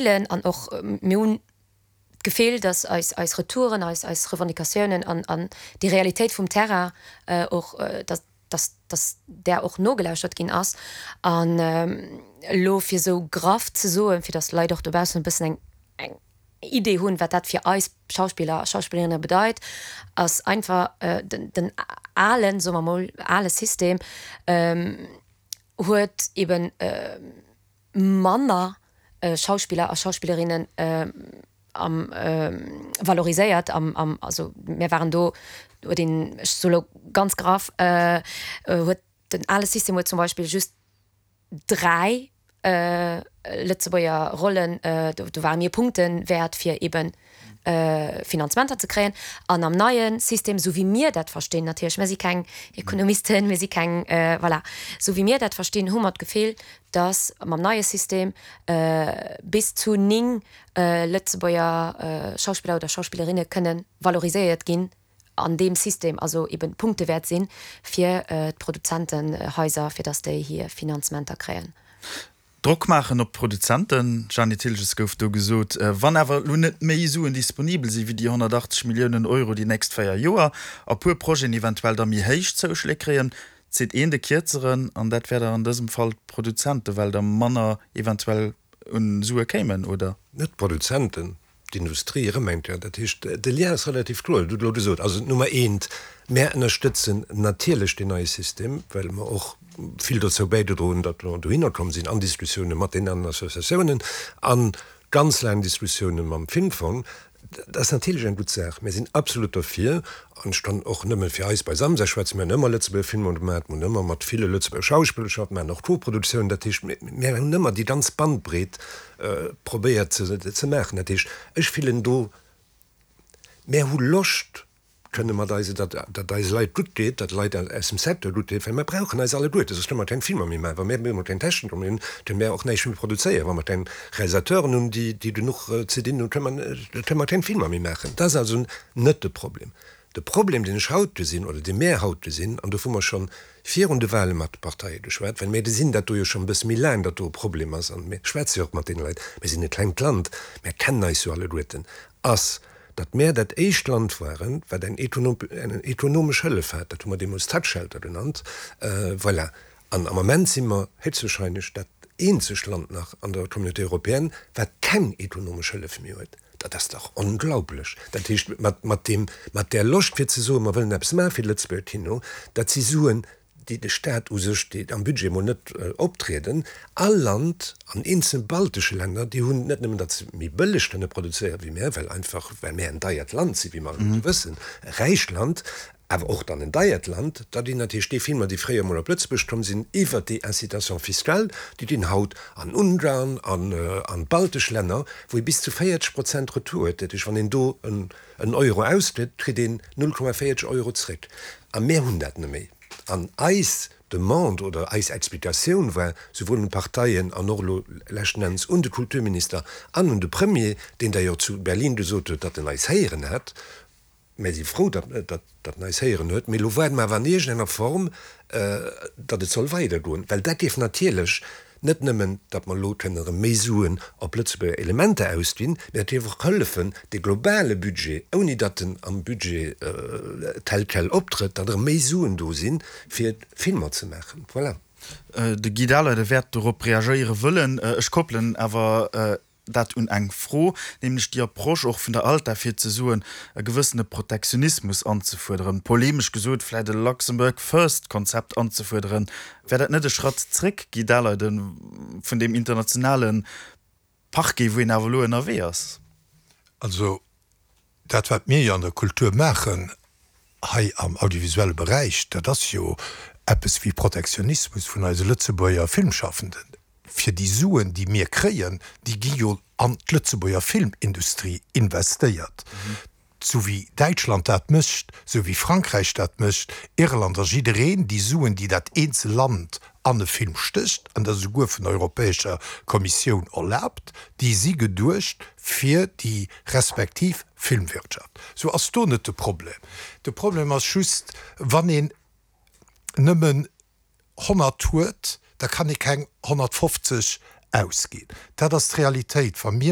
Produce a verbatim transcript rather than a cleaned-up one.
An och mir hunn d'Gefill, dass eis eis Retouren, eis eis Revendicatiounen an an déi Realitéit vum Terrain och, dass dass dass där och nogelauschtert ginn ass. An elo fir esou graff ze soen, fir dass d'Leit och dobaussen e bëssen eng eng Idee hunn, wat dat fir eis Schauspiller a Schauspillerinne bedeit, ass einfach den den alen, soe mer mol, ale System huet eben manner Schauspiller a Schauspillerinnen am valoriséiert am am also mir waren do huet een, ech soe lo ganz graff, huet den ale System huet zum Beispill just dräi Lëtzebuerger Rollen, do ware mir Punkte wäert fir eben Finanzementer ze kréien. An am neie System, esou wéi mir dat verstinn, natierlech, mir si keng Ekonomisten, mir si keng, voilà, esou wéi mir dat verstinn, hu mer d'Gefill, datt mam neie System bis zu néng Lëtzebuerger Schauspiller oder Schauspillerinne kënne valoriséiert ginn an deem System, also eben Punkte wäert sinn fir d'Produzentenhaiser, fir datt déi hir Finanzementer kréien. Drock maachen op d'Produzenten, Jeanny Thilges, gouf do gesot. Wann awer elo net méi Suen disponibel si wéi déi honnertachtzeg Milliounen Euro déi nächst véier Joer, a puer Projeten eventuell da méi héich Zouschléi kréien, zitt een de Kierzeren, an dat wär da an dësem Fall d'Produzenten, well der manner eventuell un Sue kéimen, oder? Net d'Produzenten, d'Industrie erëm eng Kéier. Dat heescht, de Lien ass relativ kloer, dat hutt Der elo gesot. Also Nummer eent, mär ënnerstëtzen natierlech deen neie System, well mer och vill dozou bäigedroen hunn, datt mer dohinner komm sinn an Diskussioune mat deenen aneren Associatiounen, a ganz laang Diskussioune mam Filmfong. Dat ass natierlech eng gutt Saach. Mir sinn absolut derfir, an ech kann och nëmme fir eis bei Samsa schwätzen, mir hunn ëmmer Lëtzebuerger Filmer gemaach, mir hunn ëmmer mat ville Lëtzebuerger Schauspiller geschafft, mir maachen och Koproduktiounen. Dat heescht, mir hunn ëmmer déi ganz Bandbreet probéiert ze maachen. Dat heescht, ech fillen do, mir hu Loscht, kënne mat eise, datt datt eise Leit gutt geet, datt Leit aus dem Secteur gutt geet, well mir brauchen eis alleguerte, soss kënne mer keng Filmer méi maachen. Wa mir emol keng Techniker méi hunn, kënne mir och näischt méi produzéieren. Wa mer keng Realisateuren hunn, déi déi genuch ze dinn hunn, kënne mer kënne mer keng Filmer méi maachen. Dat ass also net de Problem. De Problem, deen ech haut gesinn, oder dee mär haut gesinn, an dovu mer schonn virun de Wahle mat de Parteie geschwat, well mir gesinn dat do jo schonn e bësse méi laang, datt do e Problem ass, an mir schwätze jo och mat deene Leit, mir sinn e klengt Land, mär kennen eis jo alleguerten, ass, datt mär dat éischt Land waren, wat eng ekonomesch Hëllef hat, dat hu mer deemools Tax Shelter genannt, voilà. An am Ament si mer héchstwahrscheinlech dat eenzegt Land nach an der Communauté européenne, wat keng ekonomesch Hëllef méi huet. Dat ass dach onglaublech! Dat heescht, mat deem, mat där Loscht fir ze soen, mer wëllen eppes maache fir de Lëtzebuerger Kino, dat si Suen, déi de Staat u sech, déi am Budget emol net optrieden. All Land an eenzel baltesche Länner, déi hunn net nëmmen, datt se méi bëlleg kënne produzéieren wéi mär, well einfach, well mär en deiert Land sinn, wéi mer alleguerte wëssen, e räicht Land, awer och dann en deiert Land, da ginn natierlech déi Filmer, déi fréier emol op Lëtzebuerg komm sinn, iwwert déi Incitation fiscale, déi ginn haut an Ungarn, an an d'baltesch Länner, wou ee bis zu véierzeg Prozent Retour huet. Dat heescht, wann een do en Euro ausgëtt, kritt een null Komma véierzeg Euro zréck. A mär hunn dat net méi. An eis Demande oder eis Explikatioun war, souwuel un d'Parteien an och elo leschten Enns un de Kulturminister an un de Premier, deen d'ailleurs zu Berlin gesot huet, datt en eis héieren hätt, Mir si frou, datt en eis héieren huet, mee elo waarde mer awer an iergendenger Form, datt et soll weidergoen, well dat géif natierlech net nëmmen, datt mer elo kënnen erëm méi Suen op Lëtzebuerger Elementer ausginn, mä et géif och hëllefen, de globale Budget, ouni datt en am Budget tel quel optrëtt, datt erëm méi Suen do sinn, fir Filmer ze maachen. Voilà. De Guy Dahleide wäert dorop reagéiere wëllen. Ech koppelen awer dat un eng Fro, nämlech déi Approche och vun der ALTA, fir ze soen, e gewëssene Protektionismus anzefuerderen, polemesch gesot vläicht e Luxembourg First-Konzept anzefuerderen. Wär dat net e Schratt zréck, Guy Daleiden, vun deem internationale Parquet, wou een awer elo ënnerwee ass? Also dat, wat mir jo an der Kultur maachen, hei am audiovisuelle Beräich, dat ass jo eppes wéi Protektionismus vun eise Lëtzebuerger Filmschaffenden. Fir déi Suen, déi mir kréien, déi gi jo an d'Lëtzebuerger Filmindustrie investéiert, sou wéi Däitschland dat mécht, sou wéi Frankräich dat mécht, Irland a jiddereen. Déi Suen, déi dat eenzel Land an e Film stécht, an dat ass esouguer vun der Europäescher Kommissioun erlaabt, déi si geduecht fir déi respektiv Filmwirtschaft. Sou ass do net de Problem. De Problem ass just, wann een nëmmen honnert huet, da kann ee keng honnertfofzeg ausginn. Dat ass d'Realitéit. Wa mir